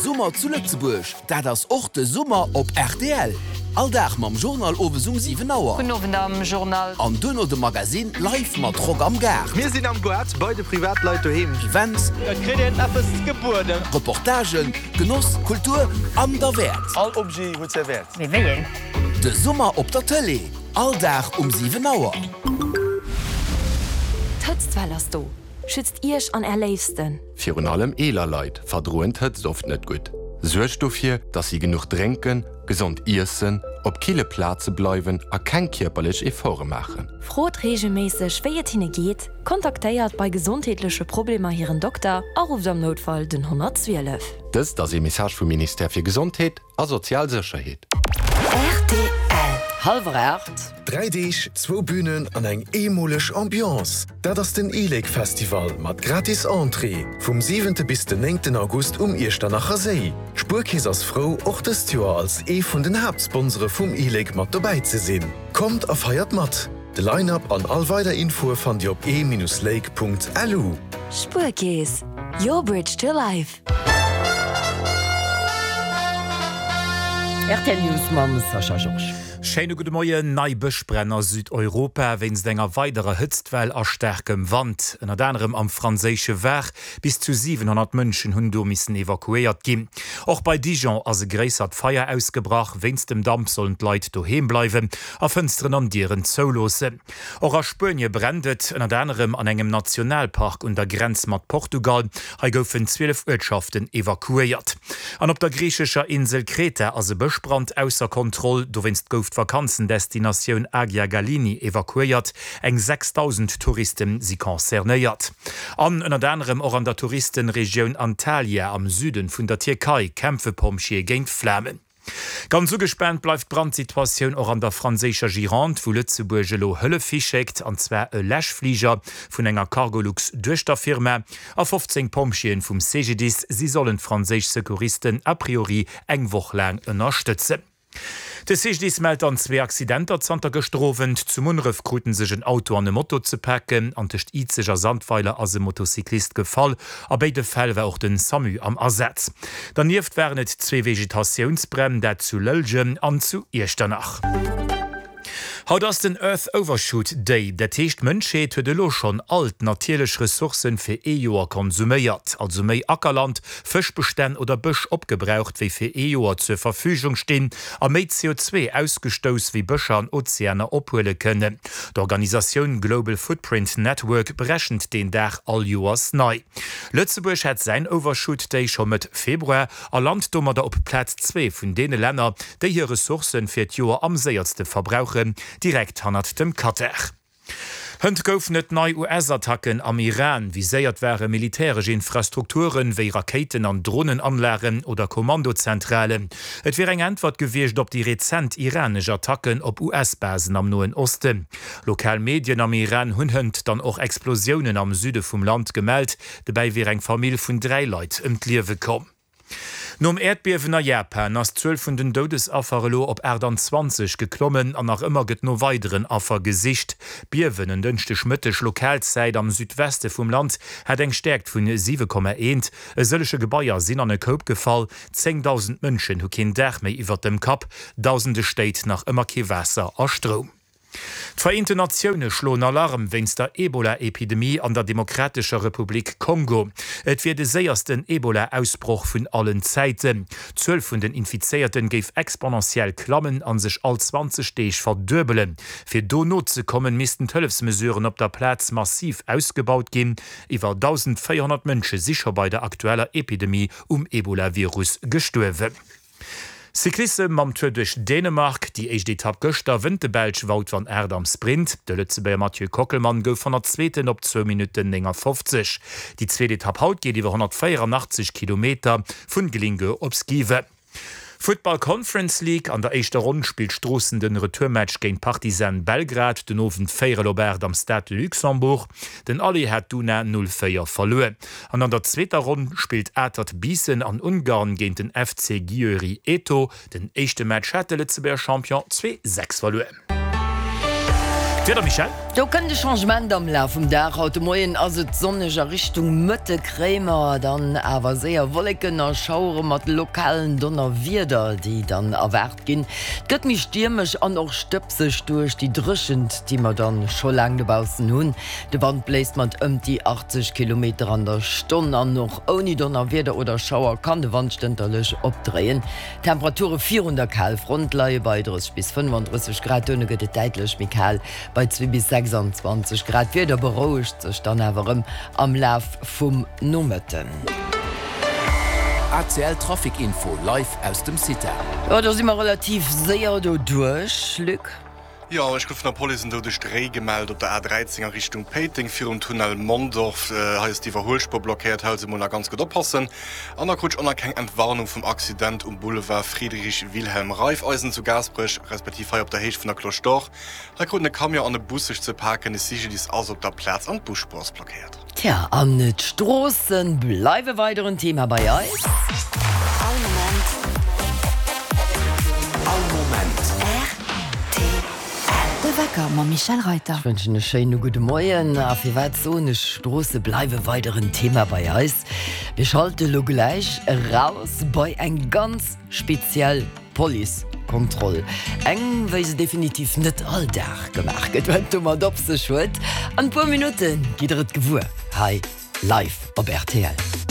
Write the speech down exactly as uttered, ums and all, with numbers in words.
Summer zu Lëtzebuerg, dat ass och de Summer op rtl. All Dag mam Journal owes um siwen Auer. Gudden Owend am Journal. An duerno de Magazine live mat Rock am Gaart. Mir sinn am Goart bei de Privatleit doheem. Events. Et kritt een eppes gebueden. Reportagen, Genoss, Kultur an derwäert. All Objet huet säi Wäert. Mee wéi een? De Summer op der Tëlee, all Dag um siwen Auer. D'Hëtztwell ass do! Schützt Iech an Är Léifsten! Virun allem eeler Leit verdroen d'Hëtzt oft net gutt. Suergt dofir, dass si genuch drénken, gesond iessen, op kille Plaze bleiwen a keng kierperlech Efforte maachen. Frot reegelméisseg, wéi et hinne geet, kontaktéiert bei gesondheetleche Problemer hiren Dokter a rufft am Noutfall den honnertzwielef. Dëst ass ee Message vum Ministère fir Gesondheet a sozial Sécherheet. Rtl. Hallwer aacht. Dräi Deeg, zwou Bünen an eng eemoleg Ambiance, dat ass den e-Lake Festival mat gratis Entrée vum siwente bis den néngten August um Iechternacher Séi. D'Spuerkeess ass frou, och dëst Joer als ee vun den Haaptsponsore vum e-Lake mat dobäi ze sinn. Kommt a feiert mat! De Line-Up an all weider Infoe fannt Dir op e-lake.lu. Spuerkeess, your bridge to life. Rtl News mam Sascha Georges. Schéine gudde Moien. Nei Bëschbränn a Südeuropa wéinst enger weiderer Hëtztwell a staarkem Wand. Ënnert anerem am franséische Var. Bis zu siwenhonnert Mënschen hunn do missen evakuéiert ginn. Och bei Dijon ass e gréissert Feier ausgebrach. Wéinst dem Damp sollen d'Leit doheem bleiwen a Fënsteren an Dieren zouloossen. Och a Spuenie brennt et, ënnert anerem an engem Nationalpark un der Grenz mat Portugal. Hei goufen zwielef Uertschaften evakuéiert. An op der griichescher Insel Kreta ass e Bëschbrand ausser Kontroll. Dowéinst gouf d'Vakanzendestinatioun Agia Galini evakuéiert. Eng sechsdausend Touriste si concernéiert. An ënnert anerem och an der Touristenregioun Antalya am Süden vun der Tierkei kämpfe Pompjeeë géint d'Flamen. Ganz ugespaant bleift d'Brandsituatioun och an der franséischer Gironde, wou Lëtzebuerg elo Hëllef hischéckt, an zwar e Läschfliger vun enger Cargolux-Duechterfirma a fofzéng Pompjeeën vum C G D I S. Si sollen d'franséisch Secouristen a priori eng Woch laang ënnerstëtzen. De C G D I S mellt dann zwee Accidenter zanter gëschter Owend. Zu Munneref kruten sech en Auto an e Moto ze paken an tëscht Izeg a Sandweiler ass e Motocyclist gefall. A béide Fäll war och den SAMU am Asaz. Dernieft waren et zwee Vegetatiounsbränn, dat zu Lëllgen an zu Iechternach. Haut ass den Earth Overshoot Day, dat heescht d'Mënschheet huet elo schonn all d'natierlech Ressourcen fir ee Joer konsuméiert, also méi Ackerland, Fëschbestänn oder Bësch opgebraucht wéi fir ee Joer zur Verfügung stinn, a méi C O zwee ausgestouss wéi Bëscher an Ozeaner ophuele kënnen. D'Organisatioun Global Footprint Network berechent deen Dag all Joers nei. Lëtzebuerg hat säin Overshoot Day scho Mëtt Februar a lant domadder op Plaz zwee vun deene Länner, déi hir Ressourcen fir d'Joer am séierste verbrauchen, direkt hannert dem Katar. Hënt goufen et nei U S-Attacken am Iran. Viséiert ware militäresch Infrastrukturen, wéi Rakéiten an Dronenanlagen oder Kommandozentralen. Et wier eng Äntwert gewiescht op déi rezent iranesch Attacken op U S-Basen am Noen Osten. Lokal Medien am Iran hunn hënt dann och Explosiounen am Süde vum Land gemellt. Dobäi wier eng Famill vun dräi Leit ëm d'Liewe komm. Nom Äerdbiewen a Japan ass d'Zuel vun den Doudesaffer elo op aachtanzwanzeg geklommen an nach ëmmer gëtt no weideren Affer gesicht. D'Biewen en Dënschdeg Mëtteg Lokalzäit am Südweste vum Land hat eng Stäerkt vun siwe Komma eent. E sëllege Gebaier sinn an e Koup gefall, zéngdausend Mënschen hu keen Daach méi iwwert dem Kapp, dausende Stéit nach ëmmer kee Waasser a Stroum. D'Vereenten Natioune schloen Alarm wéinst der Ebola-Epidemie an der Demokratescher Republik Kongo. Et wier de séiersten Ebola-Ausbroch vun allen Zäiten. D'Zuel vun den Infizéierten géif exponentiell klammen a sech all zwanzeg Deeg verduebelen. Fir do nozekommen, missten d'Hëllefsmesuren op der Plaz massiv ausgebaut ginn. Iwwer dausendvéierhonnert Mënsche si scho bei der aktueller Epidemie um Ebola-Virus gestuerwen. Cyclissem mam Tour duerch Dänemark, Déi éischt Etapp gëschter wënnt de Belsch Wout van Aert am Sprint. De Lëtzebuerger Mathieu Kockelmann gouf Honnertzweeten op zwou Minutten néngafofzeg. Déi zweet Etapp haut geet iwwer honnertvéieranaachtzeg Kilometer vun Glyngøre op Skive. Futtball Conference League, An der éischter Ronn spillt Stroossen den Retourmatch géint Partizan Belgrad den Owend véierel op aacht am Stade de Luxembourg. Den Aller hat d'Una null véier verluer. An an der zweeter Ronn spillt Atert Biissen an Ungarn géint den F C Győri Eto. Den éischte Match hat de Lëtzebuerger Champion zwee sechs verluer. D'Wieder, Michèle? Do kënnt e Changement am Laf vum Dag. Haut de Moien ass et sonneg, a Richtung Mëtte kréie mer dann awer séier Wolleken a Schauere mat lokalen Donnerwieder, déi dann erwaart ginn. Et gëtt méi stiermesch an och stëbseg duerch déi Dréchent, déi mer dann scho laang dobaussen hunn. De Wand bléist mat ëmt déi achtzeg Kilometer an der Stonn an och ouni Donnerwieder oder Schauer kann de Wand stënterlech opdréien. D'Temperature virun der Kalfront leie bei drësseg bis fënnefandrësseg Grad, duerno gëtt et däitlech méi kal bei zwee bis sechsandzwanzeg Grad. D'Wieder berouegt sech dann awer erëm am Laf vum Nomëtten. A C L Trafic Info live aus dem CITA. Jo, do si mer relativ séier doduerch, Luc. Jo, ech krut vun der Police en doudegt Réi gemellt op der A dräizéng a Richtung Péiteng virum Tunnel Mondorf. Hei ass d'Iwwerhuelspuer blockéiert, hei also mol nach ganz gutt oppassen. An da krut ech och nach keng Entwarnung vum Accident um Boulevard Friedrich Wilhelm Raiffeisen zu Gaasperech, respektiv hei op der Héicht vun der Cloche d'Or. Hei kruten e Camion an e Bus sech ze paken, de C G D I S ass op der Plaz an d'Busspuer ass blockéiert. Tja, an d'Stroosse bleiwe weider en Thema bei eis. All Moment. All Moment. R T L. De Wecker mam Michèle Reyter. Ech wënschen e schéine gudde Moien. A firwat soen ech, Stroosse bleiwe weider en Thema bei eis? Mir schalte lo gläich eraus bei eng ganz speziell Policekontroll. Eng, wéi se definitiv net all Dag gemaach gëtt. Wat et domat op sech huet, an e puer Minutte gitt der et gewuer hei live op R T L.